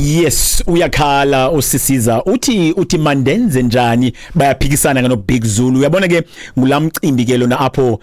Yes, uyakhala usisiza, uthi mandenze njani? Bayaphikisana ke no Big Zulu. Uyabona ke, ngulamcimbi ke lona apho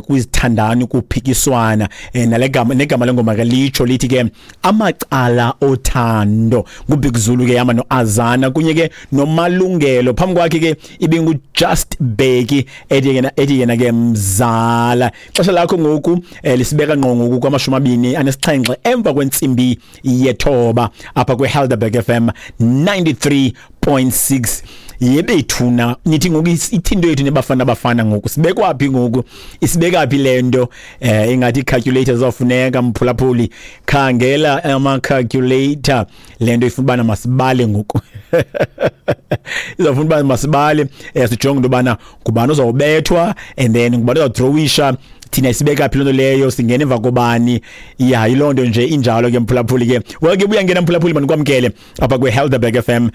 kwizithandani kuphikiswana, nalegama negama lengoma ke litsho lithi ke amacala othando. NguBig Zulu ke yama noAzana kunye ke noMalungelo. Phambi kwakhe ke ibingu Just Beki ethi yena ke mzala. Xesha lakho ngoku lisibeka ngqo ngoku kwamashumi 27 emva kwentsimbi yethoba apha kweHelderberg FM 93.6. Yebethuna, nithi ngoku ithinto yethu nebafana bafana ngoku sibekwa phi ngoku? Isibeka phi lento? Ingathi calculator zafuneka, mphulaphuli, khangela ama calculator. Lento ifuna bana masibale ngoku, izawufuna uba masibale, sijonge into yobana ngubani ozawubethwa and then ngubani ozawudrowisha. Thina isibeka phi loo nto leyo? Singena emva kobani? Ya, yiloo nto nje injalo ke, mphulaphuli ke. Well ke, buya ngena mphulaphuli, mandikwamkele apha kwiHelderberg FM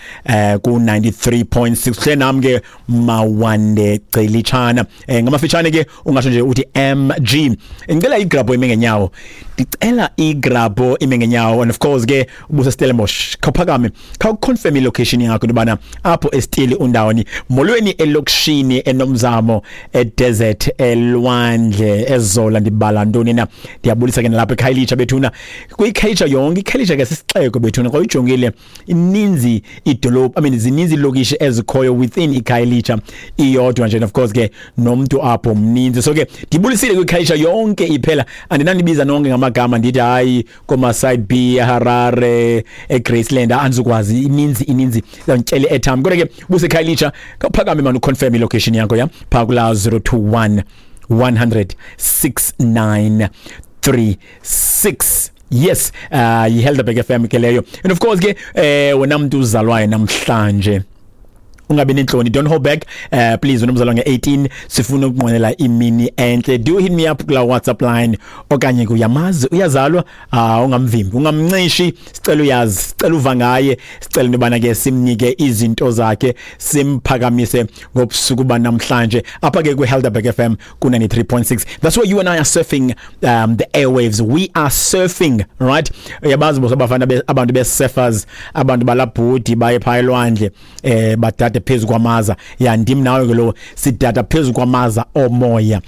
ku-93.6. Hle nam ke Mawande Gcelitshana, ngamafitshane ke ungasho nje uthi MG. Ngicela igrabho ime ngenyawo, ndicela igrabho ime ngenyawo. And of course ke ubuse Stellenbosch, khawuphakame, khawuconfirm ilocation yakho into yobana apho esitili undawoni. Molweni elokishini, enomzamo, edesert, elwandle, ezola, ndibala ntoni na? Ndiyabulisa ke nalapha eKhayelitsha bethuna, kwiKhayelitsha yonke. IKhayelitsha ke sisixeko bethuna, xa uyijongile ininzi idolophu, I mean, zininzi iilokishi ezikhoyo within iKhayelitsha iyodwa nje. And of course ke nomntu apho mninzi, so ke ndibulisile kwiKhayelitsha yonke iphela. Andinanibiza nonke ngamagama, ndithi hayi koma-side B, eHarare, eGraceland, andizukwazi, ininzi ininzi, izawundityela i-airtime. Kodwa ke buseKhayelitsha, khawuphakame mani, uconfirm ilocation yakho ya phaa kulaa 021 100 6936. Yes, yiHelderberg FM ke leyo. And of course ke wena mntu uzalwayo namhlanje, ungabi nentloni, don't hold back, please. Wena umzalwa nge-18, sifuna ukunqwenela imini entle. Do hit me up kula WhatsApp line, okanye kuyamazi uyazalwa, ungamvimbi, ungamncishi. Sicela uyazi, sicela uva ngaye, sicela into yobana ke simnike izinto zakhe, simphakamise ngobusuku banamhlanje apha ke kwiHelderberg FM ku-93.6. That's where you and I are surfing the airwaves. We are surfing, right? Uyabazi bos abafana abantu be-surfers, abantu balabhudi baye phaa elwandle, badade phezu kwamaza. Ya, ndim nawe ke lo, sidada phezu kwamaza omoya.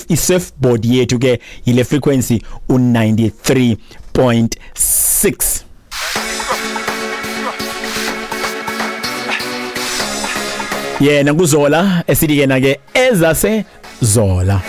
I-surfboard yethu ke yile frequency u-93.6. Yena kuzola esithi yena ke ezase zola.